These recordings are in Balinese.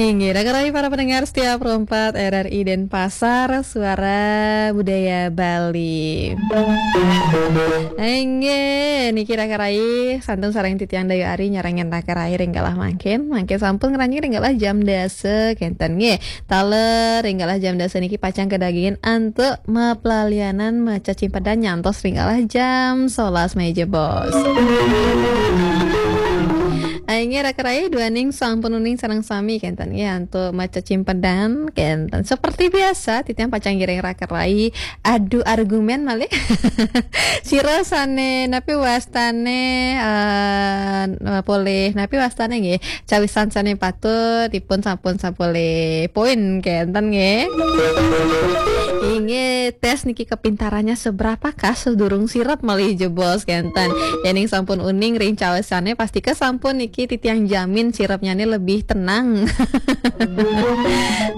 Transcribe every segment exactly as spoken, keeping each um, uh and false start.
Inggih, raka rai para pendengar setia Pro empat R R I Denpasar, Suara Budaya Bali. Inggih, niki raka rai, santun sareng titiang Dayu Ari nyarengin raka rai ring galah mangkin. Mangkin sampun ngranjing ring galah jam dasa, kenten nggih. Taler ring galah jam dasa niki pacang kadagian antuk maplalianan macecimpedan nyantos ring galah jam sebelas meja, Bos. Inggih raka rai, duaning sampun uning sareng sami kenten nggih antuk macecimpedan kenten. Seperti biasa, titiang pacang ngiring raka rai adu argumen malih. Sira sane napi wastane, eh, polih napi wastane nggih. Cawisan sane patut dipun sampun sapolih poin kenten nggih. Inggih, tes niki kepintarannya seberapakah sedurung sirep malih jebos kenten. Yening sampun uning ring cawisane, pastika sampun niki titiang jamin sirepnyane lebih tenang.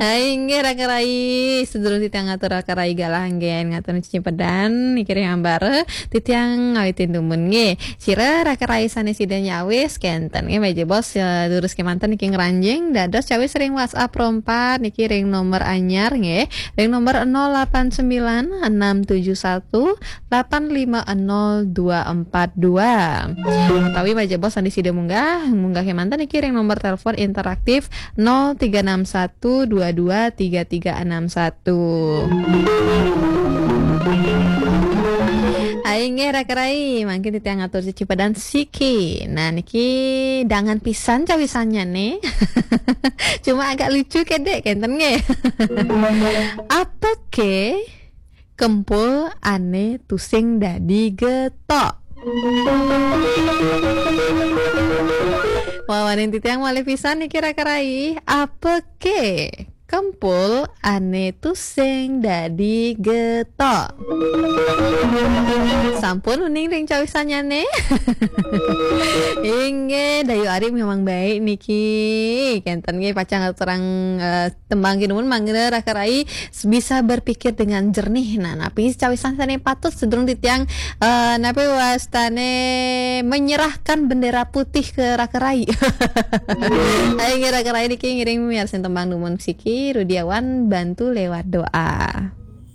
Hai, inggih raka rai, sedurung titiang ngatur raka rai galah anggen ngatur cecimpedan niki ring ambara, titiang ngawitin dumun nggih. Sira raka rai sane sida nyawis kenten nggih, meja bos, eh, durus kemanten niki ngranjing dados cawis ring WhatsApp Pro empat niki ring nomor anyar nggih, ring nomor nol delapan sembilan enam tujuh satu delapan lima nol dua empat dua. Utawi meja bos sane sida munggah, munggah kemanten niki ring nomor telepon interaktif nol tiga enam satu dua dua tiga tiga enam satu. Hai, inggih raka rai, mangkin titiang ngatur cecimpedan siki. Nah, niki dangan pisan cawisannya nih. Cuma agak lucu kedek kenten nggih. Apa ke kempul ane tusing dadi getok? Wawanin titiang malih pisan niki raka rai. Apa ke kempul ane tusing dadi getok? Sampun uning ring cawisanyane. Inggih, Dayu Ari memang baik niki. Kenten nggih pacang terang, eh, tembang kinumun mangga raka rai bisa berpikir dengan jernih. Nah, napi cawisan sane patut sedurung titiang, eh, napi wastane menyerahkan bendera putih ke raka rai. Ayo nggih raka rai niki ngiring miarsin tembang dumun siki Rudiawan bantu lewat doa.